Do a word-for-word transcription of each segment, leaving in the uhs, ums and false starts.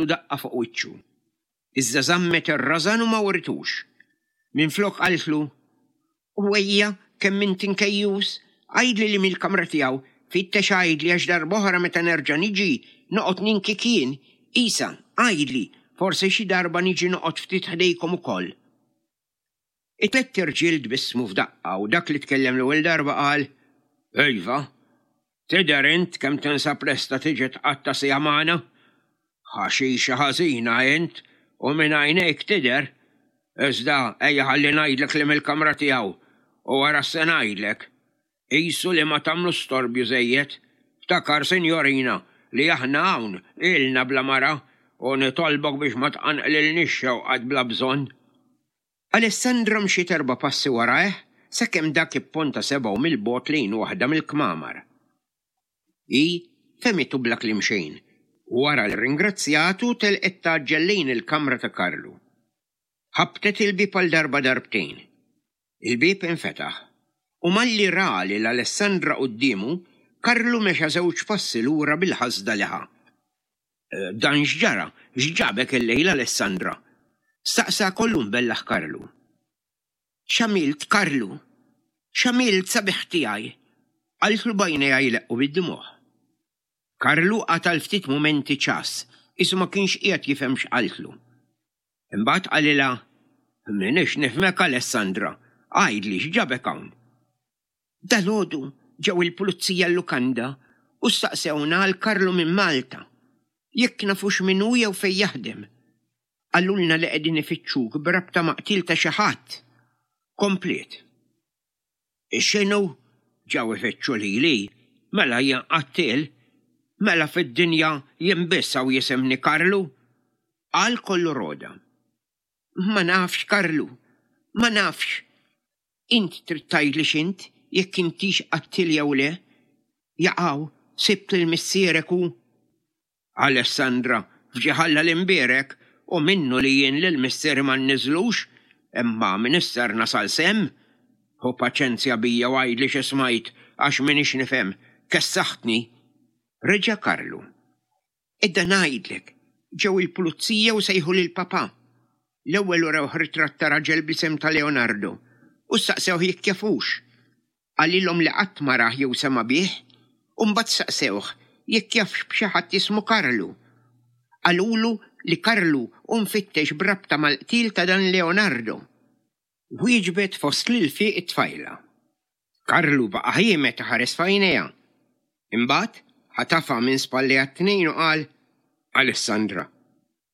daqqa fuq wiċċu. Iżda żammet ir-rażan u ma writux. Minflok qaltlu, "U ejja, kemm int inkejjus, għidli li mill-kamra tiegħu, fittex għidli għax darb'oħra meta nerġa' niġi noqgħod ninki kien. Isa, għidli, forsi xi darba niġi noqgħod ftit ħdejkom ukoll." It-tlett irġiel tbissmu f'daqqa u dak li tkellem l-ewwel darba qal, "Iva, tidher int kemm tinsab lesta tiġi tqatta' siegħa magħna? Ħaxixa ħażina int u minn għajnejk tidher. Iżda ejja ħalli ngħidlek li mill-kamra tiegħu u wara se ngħidlek. Qisu li ma tagħmlu storbju żejjed. Ftakar, sinjorina, li aħna hawn ilna bla mara u nitolbok biex ma tqanqlilniex xewqat bla bżonn." Alessandra mxiet erba' passi warajh sakemm dak ipponta sebgħu mill-bogħod lejn waħda mill-kmamar. Hi fehmitu bla kliem xejn u wara li rringrazzjatu telqet tgħaġġel lejn il-kamra ta' Karlu. Ħabtet il-bieb għal darba darbtejn. Il-bieb infetaħ u malli ra lil Alessandra quddiemu, Karlu mexa żewġ passi lura bil-ħasda li ħa. "Dan x'ġara? X'ġabek illejla, Alessandra?" staqsa kollu mbellaħ Karlu. "X'għamilt, Karlu? X'għamilt, sabiħ tiegħi?" qaltlu b'għajnejha jleqqu bid-dmugħ. Karlu qata' għal ftit mumenti ċass, qisu ma kienx qiegħed jifhem x'qaltlu. Imbagħad qalilha, "M'iniex nifhmek, Alessandra, għidli x'ġabek hawn?" "Dalgħodu ġew il-pulizija l-lukanda u staqsewna għal Karlu minn Malta, jekk nafux min hu jew fejn jaħdem. Qalulna li qegħdin ifittxuk b'rabta ma' qtil ta' xi ħadd." Kompliet. "X'inhu? Ġew ifittxu lili? Mela jien qattiel? Mela fid-dinja jien biss hawn jisimni Karlu?" Qal kollu roda. "Ma nafx, Karlu, ma nafx. Int trid tgħidli x'int, jekk intix qattiel jew le. Jaqaw, sibt lil missierek u" "Alessandra, f'ġieħ Alla l-imbierek, u minnu li jien lil missieri ma nniżlux, imma m'iniex ser nasal s'hemm. Ħu paċenzja bija u għidli xi smajt għax m'iniex nifhem, kessaħtni." Reġa' Karlu. "Edda ngħidlek, ġew il-pulizija u sejħu lil papà. L-ewwel urewh ritratt ta' raġel bl-isem ta' Leonardo u staqsewh jekk jafux. Qalilhom li qatt ma rah jew sema' bih, u mbagħad staqsewh jekk jafx b'xi ħadd jismu Karlu. Qalulu li Karlu hu mfittex b'rabta mal-qtil ta' dan Leonardo." Wieġbet fost l-ilfiq it-tfajla. Karlu baqa' ħiemed iħares f'għajnejha. Imbagħad ħatafha minn spallejha t-tnejn u qal, "Alessandra,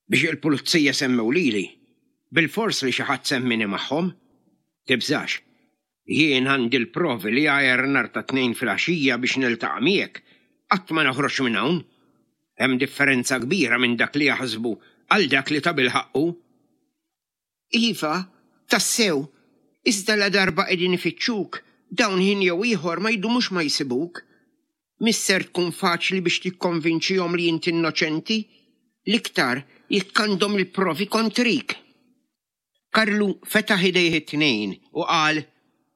biex il-pulizija semmew lili, bilfors li xi ħadd semmini magħhom. Tibżax, jien għandi l-provi li għajr nhar ta' Tnejn filgħaxija biex niltaqa' miegħek, qatt ma noħroġ minn hawn. Hemm differenza kbira minn dak li jaħsbu għal dak li tabilħaqq hu." "Iva, tassew, iżda la darba qegħdin ifittxuk, dawn ħin jew ieħor ma jdumux ma jsibuk. Mhix ser tkun faċli biex tikkonvinċihom li int innoċenti, l-iktar jekk għandhom il-provi kontrik." Karlu fetaħ idejh it-tnejn u qal,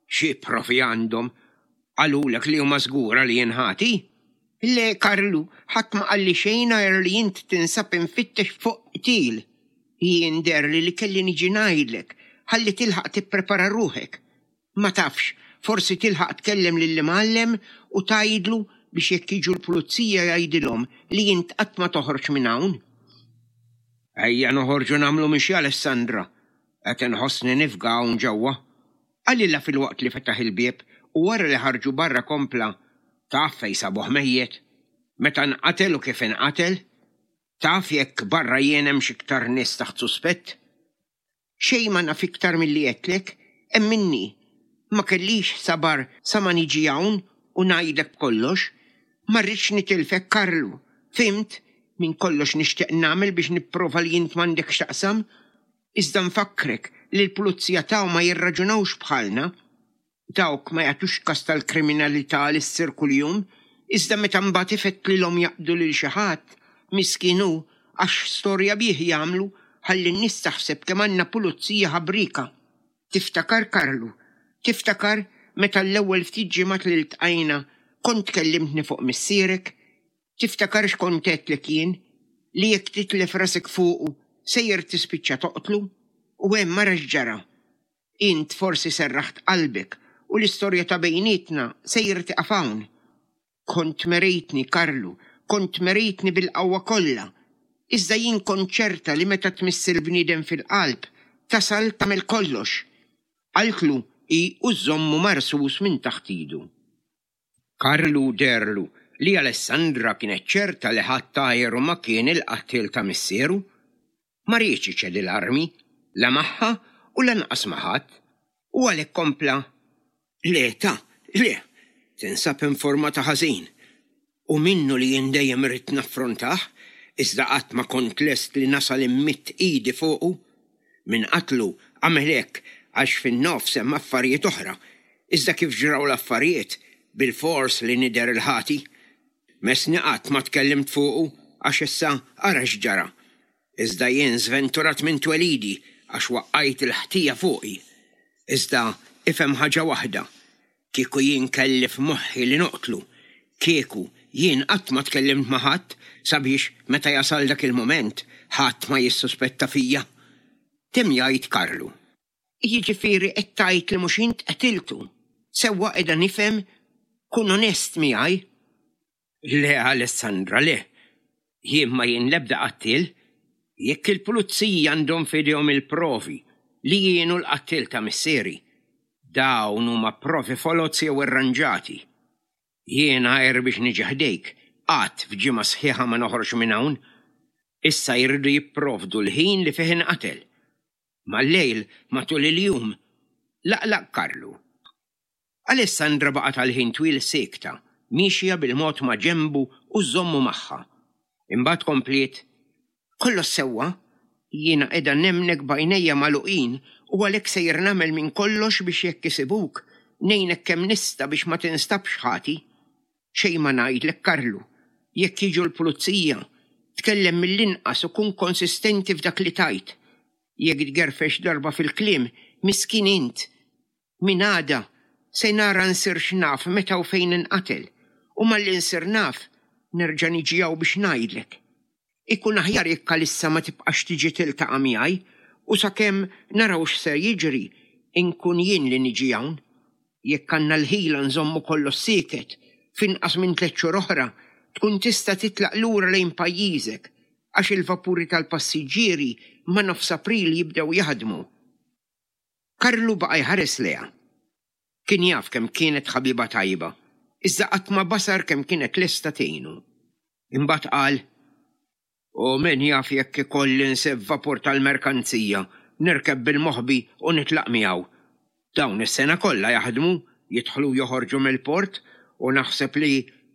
"Xi provi għandhom? Qalulek li huma żgura li jien ħati?" "Le, Karlu, ħadd ma qalli xejn għajr li int tinsab imfittex fuq qtil. Jien deherli li kelli niġi ngħidlek ħalli tilħaq tipprepara ruħek. Ma tafx, forsi tilħaq tkellem lill-imgħallem u tgħidlu biex jekk jiġu l-pulizija jgħidilhom li int qatt ma toħroġ minn hawn." "Ejja noħorġu nagħmlu mixja, Alessandra. Qed inħossni nifga hawn ġewwa." Qalilha filwaqt li fetaħ il-bieb u wara li ħarġu barra kompla, "Taf fejn sabuh mejjet? Meta nqatel u kif inqatel? Taf jekk barra jien hemmx iktar nies taħt suspett?" "Xejn ma naf iktar milli għedtlek, emminni. Ma kellix sabar sa ma niġi hawn u ngħidlek b'kollox. Ma rridx nitilfek, Karlu. Fhimt? Minn kollox nixtieq nagħmel biex nipprova li int m'għandek x'taqsam. Iżda nfakkrek li l-pulizija taw ma jirraġunawx bħalna. Dawk ma jagħtux kas tal-kriminalità li ssir kuljum, iżda meta mbagħad ifettlilhom jaqbdu lil xi ħadd, miskin hu, għax storja bih jagħmlu ħalli n-nies taħseb kemm għandna pulizija ħabrika. Tiftakar, Karlu, tiftakar meta l-ewwel ftit ġimgħat li ltqajna kont kellimtni fuq missierek? Tiftakar x'kont għedtlek jien? li jekk titlef rasek fuqu sejjer tispiċċa toqtlu u hemm mara x'ġara. Int forsi serraħt qalbek u l-istorja ta' bejnietna sejjer tieqaf hawn. Kont merejtni, Karlu, kont merejtni bil-qawwa kollha. Iżda jien kont ċerta li meta tmiss il-bniedem fil-qalb tasal tagħmel kollox. Qaltlu hi u żżommu marsus minn taħt idu. Karlu deherlu li Alessandra kienet ċerta li ħadd għajru ma kien il-qattiel ta' missieru. Ma riedx iċedi l-armi, la magħha u lanqas ma' ħadd, u għalhekk kompla, Le ta, le, tinsab informata ħażin. U minnu li jien dejjem ridt naffrontah, iżda qatt ma kont lest li nasal immidd idi fuqu. Min qatlu għamel hekk għax fin-nofs hemm affarijiet oħra, iżda kif ġraw l-affarijiet, bilfors li nidher il-ħati. Messni qatt ma tkellimt fuqu għax issa ara x'ġara. Iżda jien żventurat minn twelidi għax waqqajt il-ħtija fuqi. Iżda ifhem ħaġa waħda, kieku jien kelli f'moħħi li noqtlu, kieku jien qatt ma tkellimt ma' ħadd sabiex meta jasal dak il-mument ħadd ma jissuspetta fija. Temm jgħid Karlu. Jiġifieri qed tgħid li mhux int qtiltu. Sewwa qiegħda nifhem, kun onest miegħi. Le, Alessandra, le. Jien ma jien l-ebda qattiel. Jekk il-pulizija għandhom f'idejhom il-provi li jien hu l-qattiel ta' missieri, dawn huma provi foloz jew irranġati. Jien għajr biex niġi ħdejk, qatt f'ġimgħa sħiħa ma noħroġ minn hawn. Issa jridu jipprovdu l-ħin li fih inqatel. Mal-lejl, matul il-jum, laqlaq Karlu. Alessandra baqgħet għal ħin twil siekta, miexja bil-mod ma' ġenbu u żżommu magħha. Imbagħad kompliet, Kollox sewwa, jiena qiegħda nemmnek b'għajnejja magħluqin u għalhekk sejjer nagħmel minn kollox biex jekk isibuk, ngħinek kemm nista' biex ma tinstabx ħati. Xejn ma ngħidlek, Karlu, jekk jiġu l-pulizija, tkellem mill-inqas u kun konsistenti f'dak li tgħid. Jekk tgerfex darba fil-kliem, miskin int. Min għada se nara nsirx naf meta u fejn inqatel, u malli nsir naf nerġa' niġi hawn biex ngħidlek. Ikun aħjar jekk għalissa ma tibqax tiġi tiltaqa' miegħi u sakemm naraw x'ser jiġri, inkun jien li niġi hawn. Jekk għandna l-ħila nżommu kollox sieket, f'inqas minn tliet xhur oħra tkun tista' titlaq lura lejn pajjiżek għax il-vapuri tal-passiġġieri ma' nofs April jibdew jaħdmu. Karlu baqa' jħares lejha. Kien jaf kemm kienet ħabiba tajba, iżda qatt ma basar kemm kienet lesta tgħinu. Imbagħad qal, U min jaf jekk ikolli nsib vapur tal-merkanzija, nirkeb bil-moħbi u nitlaq miegħu. Dawn is-sena kollha jaħdmu, jidħlu u joħorġu mill-port u naħseb li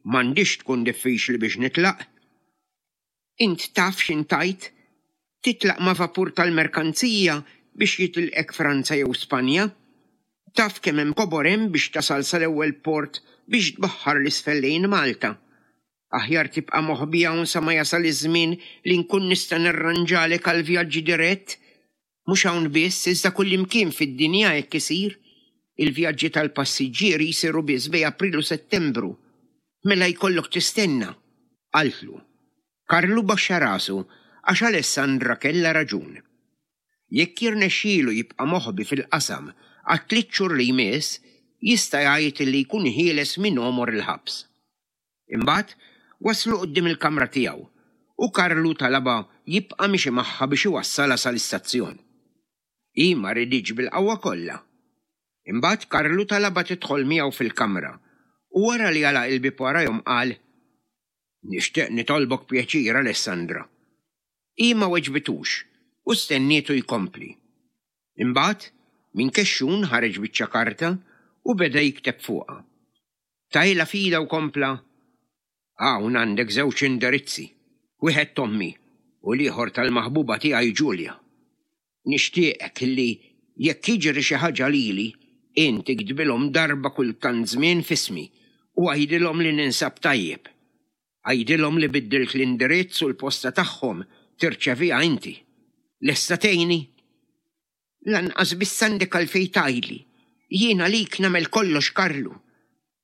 m'għandix tkun diffiċli biex nitlaq. Int taf x'int tgħid? Titlaq ma' vapur tal-merkanzija biex jitilqek Franza jew Spanja? Taf kemm hemm kobor hemm biex tasal sal-ewwel port biex tbaħħar l-isfel lejn Malta? Aħjar tibqa' moħbi hawn sa ma jasal iż-żmien li nkun nista' nirranġalek għal vjaġġi dirett. Mhux hawn biss, iżda kullimkien fid-dinja hekk isir. Il-vjaġġi tal-passiġġieri jsiru biss bejn April u Settembru. Mela jkollok tistenna, qaltlu. Karlu baxxa rasu għax Alessandra kellha raġun. Jekk jirnexxielu jibqa' moħbi fil-qasam għat-tliet xhur li jmiss, jista' jgħid li jkun ħieles minn għomor il-ħabs. Imbagħad waslu quddiem il-kamra tiegħu u Karlu talabha jibqa' miexi magħha biex iwassalha sal-istazzjon. Hi ma riditx bil-qawwa kollha. Imbagħad Karlu talabha tidħol miegħu fil-kamra u wara li għalaq il-bieb warajhom qal, Nixtieq nitolbok pjaċir, Alessandra. Hi ma weġbitux u stennietu jkompli. Imbagħad minn kexxun ħareġ biċċa karta u beda jikteb fuqha. Tajla fida u kompla, Hawn għandek żewġ indirizzi, wieħed t'ommi u l-ieħor tal-maħbuba tiegħi Ġulja. Nixtieqek li jekk jiġri xi ħaġa lili, int iktbilhom darba kull tant żmien f'ismi u għidilhom li ninsab tajjeb. Għidilhom li biddilt l-indirizz u l-posta tagħhom tirċeviha inti. Lesta tgħinni? Lanqas biss għandek għalfejn tgħidli. Jien għalik nagħmel kollox, Karlu.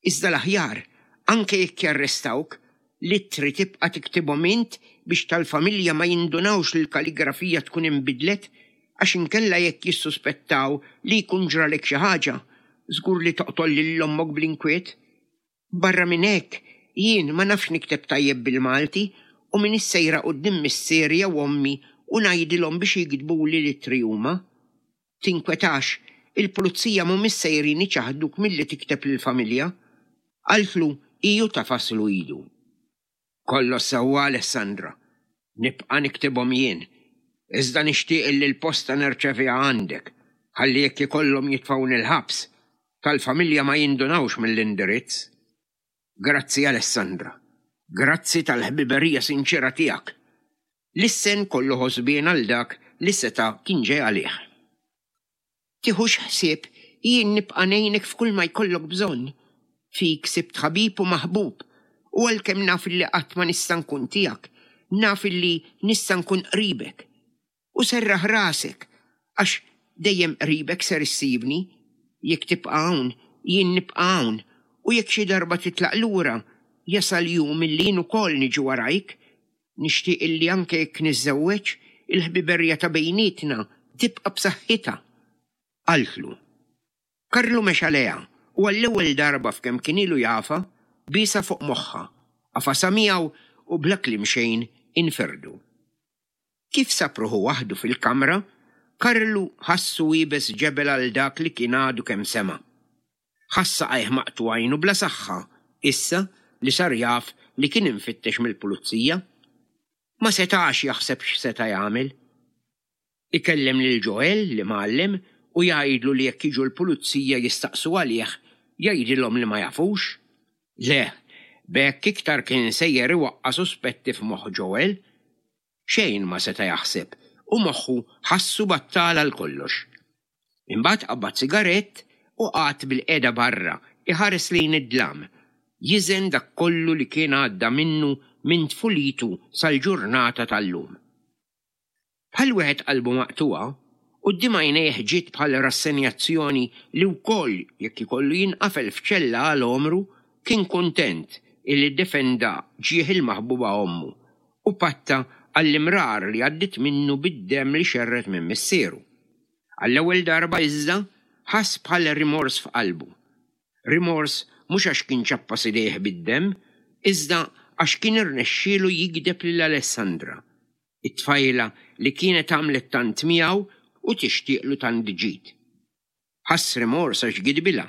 Iżda l-aħjar, anke jekk jarrestawk, l-ittri tibqa' tiktibhom int biex tal-familja ma jindunawx li l-kaligrafija tkun inbidlet għax inkella jekk jissuspettaw li jkun ġralek xi ħaġa, żgur li toqtol lil ommok bl-inkwiet. Barra minn hekk, jien ma nafx nikteb tajjeb bil-Malti u m'iniex sejra quddiem missieri jew ommi u ngħidilhom biex jiktbuli l-ittri huma. Tinkwetax, il-pulizija mhumiex sejrin iċaħduk milli tikteb lill-familja. Qaltlu hi u tagħfaslu idu. Kollox sewwa Alessandra, nibqa' niktibhom jien. Iżda nixtieq li l-posta nirċeviha għandek, ħalli jekk ikollhom jitfgħuni l-ħabs, tal-familja ma jindunawx mill-indirizz. Grazzi Alessandra, grazzi tal-ħbiberija sinċera tiegħek. Lissen kollu ħosbien għal dak li seta' kien ġej għalih. Tiħux ħsieb, jien nibqa' ngħinek f'kull ma jkollok bżonn. Fik sibt ħabib u maħbub, u għalkemm naf li qatt ma nista' nkun tiegħek, naf li nista' nkun qribek. U serraħ rasek, għax dejjem qribek ser issibni. Jekk tibqa' hawn, jien nibqa' hawn, u jekk xi darba titlaq lura, jasal jum illi jien ukoll niġi warajk. Nixtieq illi anke jekk niżżewweġ, il-ħbiberija ta' bejnietna tibqa' b'saħħitha. Qaltlu. Karlu mexa lejha u għall-ewwel darba f'kemm kien ilu jafha, biesha fuq moħħha, għafasha miegħu u bla kliem xejn inferdu. Kif sab ruħu waħdu fil-kamra, Karlu ħassu iebes ġebel għal dak li kien għadu kemm sema'. Ħass saqajh maqtugħin u bla saħħa, issa li sar jaf li kien imfittex mill-pulizija. Ma setax jaħseb x'seta' jagħmel. Ikellem lil Joel l-imgħallem u jgħidlu li jekk jiġu l-pulizija jistaqsu għalih, jgħidilhom li ma jafux. Le, b'hekk iktar kien sejjer iwaqqa' suspetti f'moħħ Joel. Xejn ma seta' jaħseb u moħħu ħassu battal għal kollox. Imbagħad qabad sigarett u qagħad bilqiegħda barra iħares lejn id-dlam, jiżen dak kollu li kien għadda minnu minn tfulitu sal-ġurnata tal-lum. Bħal wieħed qalbu maqtugħa, quddiem għajnejh ġiet bħal rassenjazzjoni li wkoll jekk ikollu jinqafel f'ċella għal għomru kien kuntent illi ddefenda ġieħ il-maħbuba ommu u patta għall-imrar li għaddit minnu bid-demm li xerred minn missieru. Għall-ewwel darba iżda ħass bħal rimors f'qalbu. Rimors mhux għax kien ċappas idejh bid-demm, iżda għax kien irnexxielu jigdeb lil Alessandra, it-tfajla li kienet għamlet tant miegħu u tixtieqlu tant ġid. Ħass rimors għax gidbilha,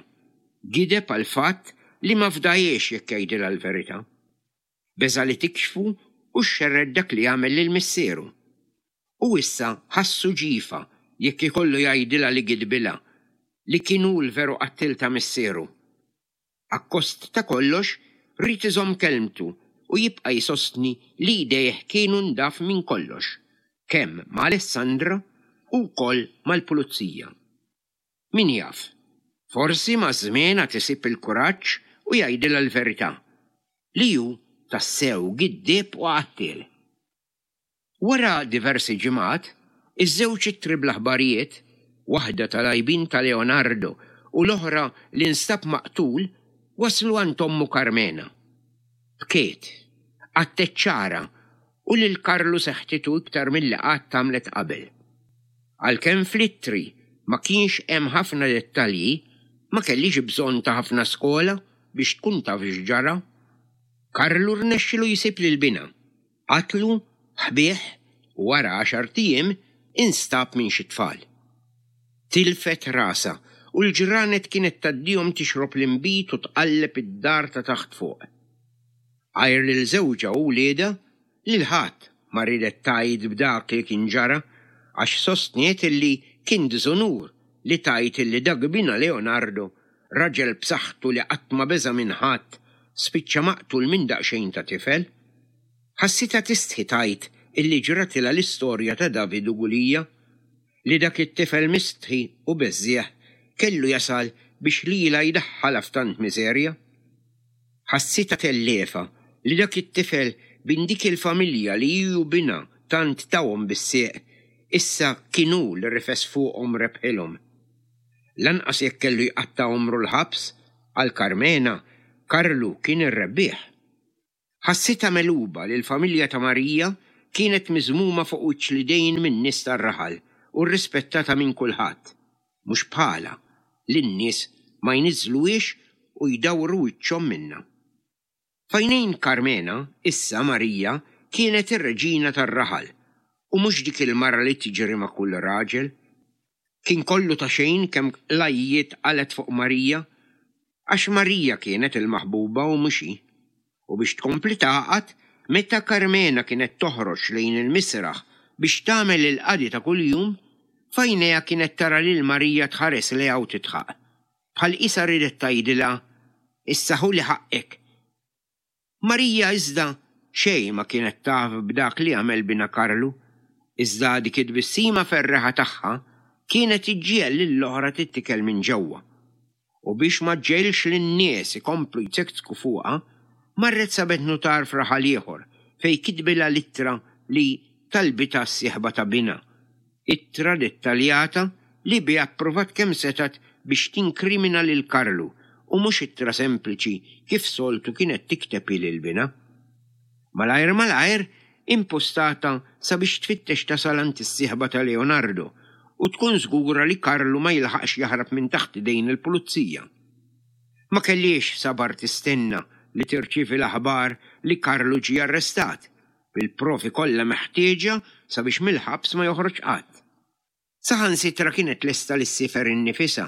gideb għal fatt li ma fdajiex jekk jgħidilha l-verità. Beża' li tikxfu u xerred dak li għamel lil missieru. U issa ħassu ġifa jekk ikollu jgħidilha li gidbilha, li kien hu l-veru qattil ta' missieru. Akkost ta' kollox, ried iżomm kelmtu u jibqa' jsostni li jdejh kienu ndaf minn kollox, kemm ma' Alessandra u wkoll mal-pulizija. Min jaf, forsi maż-żmien għad isib il-kuraġġ u jgħidilha l-verità, li hu tassew giddieb u qattiel. Wara diversi ġimgħat, iż-żewġ ittri bl-aħbarijiet, waħda tal-għajbien ta' Leonardo u l-oħra li nstab maqtul, waslu għand ommu Carmena. Bkiet, qatgħet xagħarha u lil Karlu seħtitu iktar milli qatt għamlet qabel. Għalkemm fl-ittri ma kienx hemm ħafna dettalji, ma kellhiex bżonn ta' ħafna skola biex tkun taf x'ġara. Karlu rnexxilu jsib lil binha, qatlu, ħbieh u wara għaxart ijiem instab minn xi tfal. Tilfet rasha u l-ġranet kienet tgħaddihom tixrob l-inbid u tqalleb id-dar ta' taħt fuq. Għajr lil żewġha u wliedha, lil ħadd ma riedet tgħid b'dak li kien ġara għax sostniet illi kien diżonur li tgħid illi dak binha Leonardo, raġel b'saħħtu li qatt ma beża' minn ħadd, spiċċa maqtul minn daqsxejn ta' tifel. Ħassitha tistħi tgħid illi ġratilha l-istorja ta' David u Gulija, li dak it-tifel mistħi u beżżieħ kellu jasal biex lilha jdaħħalha f'tant miżerja. Ħassitha telliefa li dak it-tifel bin dik il-familja li hi u binha tant tawhom bis-sieq, issa kien hu li rifes fuqhom rebħilhom. Lanqas jekk kellu jqatta' għomru l-ħabs, għal Carmena, Karlu kien ir-rebbieħ. Ħassitha megħluba li l-familja ta' Marija kienet miżmuma fuq wiċċ l-idejn min-nies tar-raħal u rrispettata minn kulħadd, mhux bħalha li n-nies ma jniżżluhiex u jdawru wiċċhom minnha. F'għajnejn Karmena, issa Marija kienet ir-reġina tar-raħal u mhux dik il-mara li tiġri ma' kull raġel. Kien kollu ta' xejn kemm qlajjiet qalgħet fuq Marija, għax Marija kienet il-maħbuba u mhux hi. U biex tkompli tagħqad, meta Karmena kienet toħroġ lejn il-misraħ biex tagħmel il-qadi ta' kuljum, f'għajnejha kienet tara lil Marija tħares lejha u tidħaq. Bħal qisha riedet tgħidilha, issa ħuli ħaqqek. Marija iżda xejn ma kienet taf b'dak li għamel binha Karlu, iżda dik it-tbissima ferreħa tagħha kienet iġġiegħel lill-oħra tittikel minn ġewwa. U biex ma ġġegħilx lin-nies ikomplu jzekkzku fuqha, marret sabet nutar f'raħal ieħor fejn kitbilha l-ittra li talbitha s-sieħba ta' binha. Ittra dettaljata li biha ppruvat kemm setgħet biex tinkrimina lil Karlu u mhux ittra sempliċi kif soltu kienet tikteb hi lil binha. Malajr malajr impostata sabiex tfittex tasal għand is-sieħba ta' Leonardo u tkun żgura li Karlu ma jilħaqx jaħrab minn taħt idejn il-pulizija. Ma kellhiex sabar tistenna li tirċievi l-aħbar li Karlu ġie arrestat bil-provi kollha meħtieġa sabiex mill-ħabs ma joħroġ qatt. Saħansitra kienet lesta li ssiefer innifisha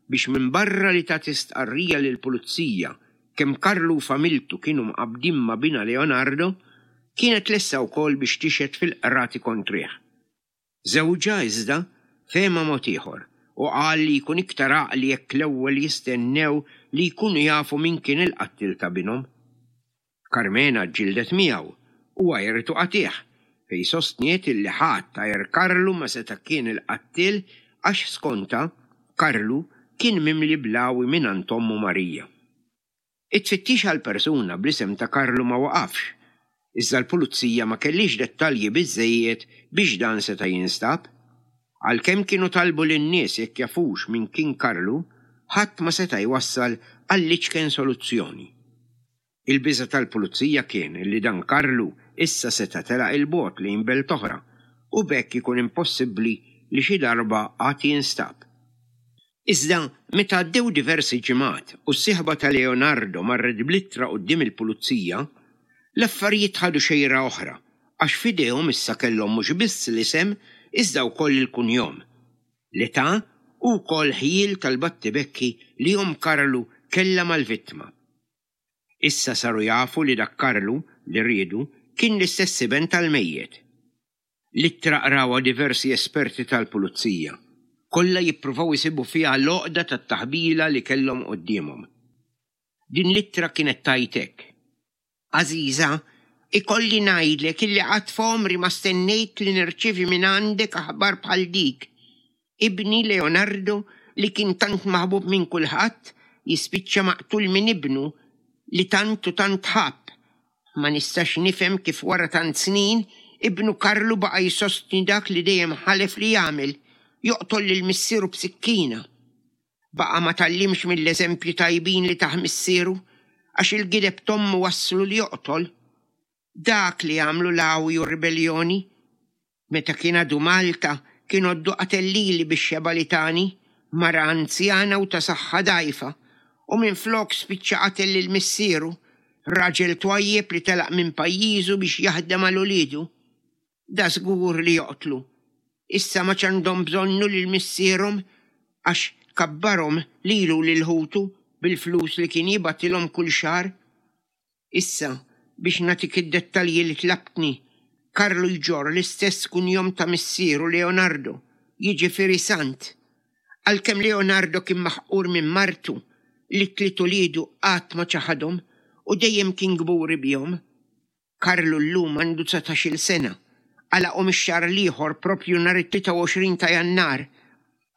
biex minbarra li tagħti stqarrija lill-pulizija kemm Karlu u familtu kienu mqabbdin ma' binha Leonardo, kienet lesta wkoll biex tixhed fil-qrati kontrih. Żewġha iżda fehma mod ieħor u qal li jkun iktar għaqli jekk l-ewwel jistennew li jkunu jafu min kien il-qattil ta' binhom. Karmena ġġieldet miegħu u għajritu qatigħ fejn sostniet illi ħadd għajr Karlu ma seta' kien il-qattil għax skontha Karlu kien mimli blawi mingħand ommu Marija. It-tfittix għal persuna bl-isem ta' Karlu ma waqafx, iżda l-pulizija ma kellhiex dettalji biżżejjed biex dan seta' jinstab. Għalkemm kienu talbu lin-nies jekk jafux min kien Karlu, ħadd ma seta' jwassal għall-iċken soluzzjoni. Il-biża' tal-pulizija kien li dan Karlu issa seta' telaq 'il bogħod lejn belt oħra u b'hekk ikun impossibbli li xi darba għad jinstab. Iżda meta għaddew diversi ġimgħat u s-sieħba ta' Leonardo marret bl-ittra quddiem il-pulizija, l-affarijiet ħadu xejra oħra għax f'idejhom issa kellhom mhux biss l-isem iżda wkoll il-kunjom, l-età u wkoll ħjiel tal-battibekki li omm Karlu kellha mal-vittma. Issa saru jafu li dak Karlu li riedu kien l-istess iben tal-mejjet. L-ittra qrawha diversi esperti tal-pulizija, kollha jippruvaw isibu fiha l-għoqda tat-taħbila li kellhom quddiemhom. Din l-ittra kienet tgħid hekk. Għażiża, ikolli ngħidlek illi qatt f'għomri ma stennejt li nirċievi minn għandek aħbar bħal dik. Ibni Leonardo, li kien tant maħbub minn kulħadd, jispiċċa maqtul minn ibnu li tant u tant ħabb. Ma nistax nifhem kif wara tant snin ibnu Karlu baqa' jsostni dak li dejjem ħalef li jagħmel, joqtol lil missieru b'sikkina. Baqa' ma tgħallimx mill-eżempji tajbin li tah missieru, għax il-gideb t'ommu wasslu li joqtol. Dak li għamlu l-għawi u r-ribelljoni. Meta kien għadu Malta, kien għoddu qatel lili bix-xebgħa li tani, mara anzjana u ta' saħħa dgħajfa, u minflok spiċċa qatel lil missieru, raġel twajjeb li telaq minn pajjiżu biex jaħdem għal uliedu. Da żgur li joqtlu. Issa ma għandhom bżonnu lil missierhom għax kabbarhom lilu lil ħutu bil-flus li kien jibgħatilhom kull xahar. Issa, biex nagħtik id-dettalji li tlabtni, Karlu jġorr l-istess kunjom ta' missieru Leonardo, jiġifieri Sant. Għalkemm Leonardo kien maħqur minn martu li t-tliet uliedu qatt ma ċaħadhom u dejjem kien kburi bihom. Karlu llum għandu dsatax-il sena, għalaqhom ix-xahar l-ieħor propju nhar it-tlieta u għoxrin ta' Jannar.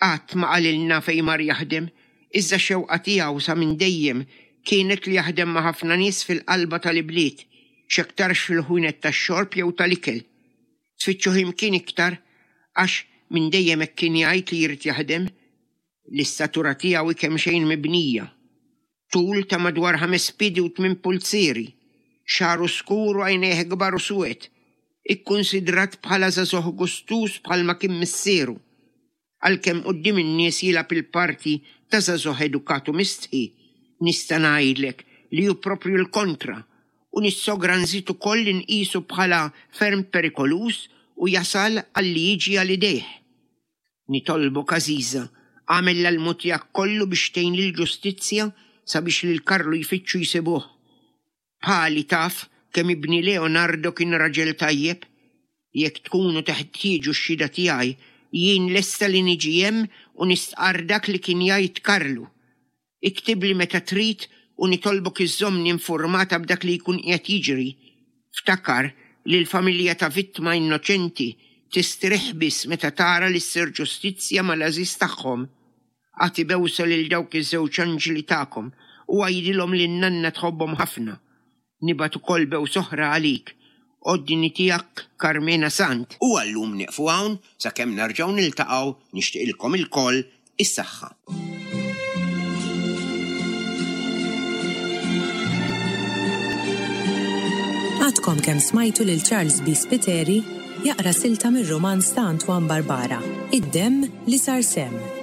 Qatt ma qalilna fejn mar jaħdem, iżda x-xewqa tiegħu sa minn dejjem kienet li jaħdem ma' ħafna nies fil-qalba tal-ibliet, x'aktarx fil-ħwienet tax-xorb jew tal-ikel. Tfittxuh imkien iktar għax minn dejjem hekk kien jgħid li jrid jaħdem. L-istatura tiegħu hi kemxejn mibnija. Tul ta' madwar ħames piedi u tmien pulzieri, xagħru skur u għajnejh kbar u suwed. Ikkunsidrat bħala żagħżugħ gustuż bħalma kien missieru. Għalkemm quddiem in-nies jilgħab il-parti ta' żagħżugħ edukat u mistħi, nista' ngħidlek li hu proprju l-kontra u nissogra nżid ukoll li nqisu bħala ferm perikoluż u jasal għal li jiġi għal idejh. Nitolbok għażiża, agħmel l-almu tiegħek kollu biex tgħin lill-ġustizzja sabiex lil Karlu jfittxu jsibuh. Bħali taf kemm ibni Leonardo kien raġel tajjeb. Jekk tkunu teħtieġu x-xhieda tiegħi, jien lesta li niġi hemm u nistqarr dak li kien jgħid Karlu. Iktibli meta trid u nitolbok iżżommni informata b'dak li jkun qiegħed jiġri. Ftakar li l-familja ta' vittma innoċenti tistrieħ biss meta tara li ssir ġustizzja mal-għażiż tagħhom. Agħti bewsa lil dawk iż-żewġ anġli tagħkom u għidilhom li n-nanna tħobbhom ħafna. Nibgħat ukoll bewsa oħra għalik. Għoddini tiegħek Karmena Sant. U għal-lum nieqfu hawn sakemm nerġgħu niltaqgħu nixtieqilkom ilkoll is-saħħa. Għadkom kemm smajtu lil Charles B. Spiteri jaqra silta mir-rumanz ta' Antoine Barbara, Id-demm li sar semm.